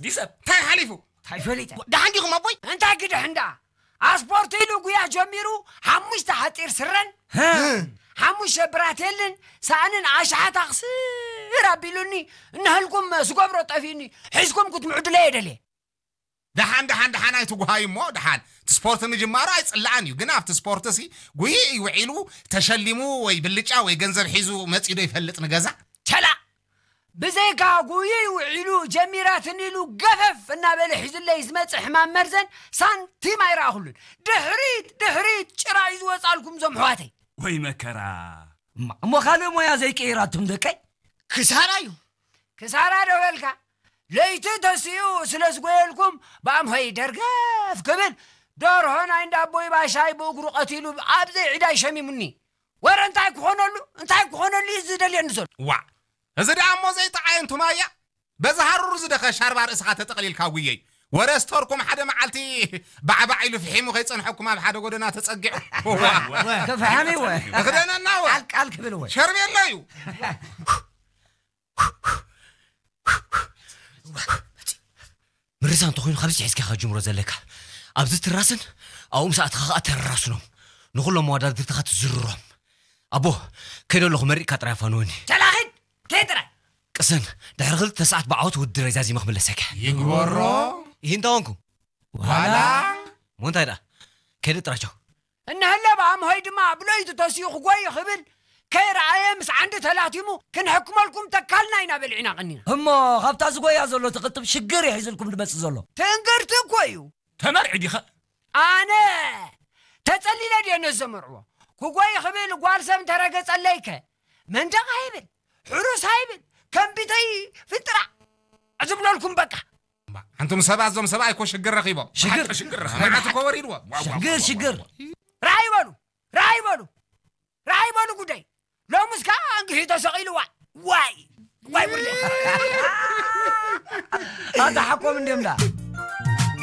ዲሰብ እንታይ ሓሊፉ? እንታይ ፈሊጠ? ደሓን ዲኹም ኣቦይ? እንታይ ክድሕን ደኣ? ኣስፖርት ኢሉ ጉያ ጀሚሩ፣ ሓሙሽተ ሓጺር ስረን፣ ሓሙሽተ ብራቴልን፣ ሳእንን ኣሽሓት ኣኽስር ኣቢሉኒ፣ እናህልኩም ዝገብሮ ጠፊኡኒ፣ ሒዝኩም ክትምዕዱለይ እየ ደልየ። ደሓን፣ ደሓን፣ ደሓን ኣይትጉሃዩ እሞ፣ ደሓን። እቲ ስፖርት ምጅማሩ ኣይጽላእን እዩ፣ ግን ኣብቲ ስፖርትሲ ጉይይ ውዒሉ ተሸሊሙ ወይ ብልጫ ወይ ገንዘብ ሒዙ መጺኡ ዶ ይፈልጥ ንገዛ? ቸላ! ብዘይካ ጉይይ ውዒሉ ጀሚራትኒ ኢሉ ገፈፍ እናበለ ሒዙለይ ዝመጽእ ሕማም መርዘን ሳንቲም ኣይረኣኹሉን። ድሕሪት፣ ድሕሪት ጭራ እዩ ዝወጻልኩም እዞም ኣሕዋተይ። ወይ መከራ! እማ፣ እሞ ካልእ ሞያ ዘይቀይራትም ደቀይ? ክሳራ እዩ። ክሳራ ዶ በልካ? ለይቲ ተሲኡ ስለ ዝጎየልኩም ብኣምሆይ ደርገፍ ክብል ደርሆ ናይ እንዳ ኣቦይ ባሻይ ብእግሩ ቀቲሉ ኣብ ዘይዒዳይ ሸሚሙኒ። ወረ እንታይ ክኾነሉ፣ እንታይ ክኾነሉ እዩ ዝደልየኒ ዘሎ? ዋእ! እዚ ደኣ እሞ ዘይጠዓየ እንቱማያ፣ በዚ ሃሩር ዝደኸ ሻርባ ርእስኻ ተጠቕሊልካ ጉየይ። ወረ ስቶርኩም ሓደ መዓልቲ ባዕባዕ ኢሉ ፍሒሙ ከይጸንሐኩም ኣብ ሓደ ጎደና ተጸጊዑ። ዋእ! ከፍሓሚ ወ። እኽደነና ወ። ቃል ቃል ክብል ወ። ሸርብ የለ እዩ። ምርሳ እንተኾይኑ ካብዚ ሒዝካ ኢኻ ጅምሮ ዘለካ። ኣብዚ ትራስን ኣብኡ ምስ ኣተኻ ኸኣ ተራስኖም። ንኹሎም መወዳድርትኻ ትዝርሮም። ኣቦ፣ ከይደ ኣለኹ መሪቕካ ጥራይ ኣፋንወኒ። ቻላ ኺድ፣ ከይድ ጥራይ። ቅሰን፣ ድሕሪ ክልተ ሰዓት ብዓወት ውድድረይ ዛዚመ ክምለሰካ። ይግበሮ። ይሂንታ ወንኩ። ዋላ። እሞ እንታይ ደኣ? ከይደ ጥራይ ቻው። እንሀለ ብኣምሆይ ድማ ብለይቲ ተሲኡ ክጎይ ክብል ከይረኣየ ምስ ዓንዲ ተላቲሙ ክንሕክመልኩም ተካልና ኢና በሊዕና ቀኒና። እሞ ካብታ ዝጎያ ዘሎ ትቕጥብ ሽግር እዩ ሒዝልኩም ድመጽእ ዘሎ። ትእንግርቲ እኮ እዩ። ተመርዒ ዲኸ? ኣነ ተጸሊለ ድየ ነዚ ዘመርዕዎ? ክጎይ ክብል ጓል ሰብ እንተረገጸለይከ መንደቕ ኣይብል፣ ሕሩስ ኣይብል፣ ከንቢተይ ፍንጥራዕ ዝብለልኩም በቃ። ኣንቱም ሰባት፣ እዞም ሰብኣይ እኮ ሽግር ረኺቦም። ሽግር? ብሓቂ ሽግር ረኺቦም። መዓት እኮ ወሪድዎም። ዋው፣ ዋው፣ ሽግር፣ ዋው፣ ሽግር። ዋው። ራይ በሉ፣ ራይ በሉ፣ ራይ በሉ ጉደይ። ሎምስ ከዓ እንግሒ ተሰቒሉ፣ ዋይ፣ ዋይ፣ ዋይ ጉደይ። ኣታ ሓቆም እንድዮም ዳ።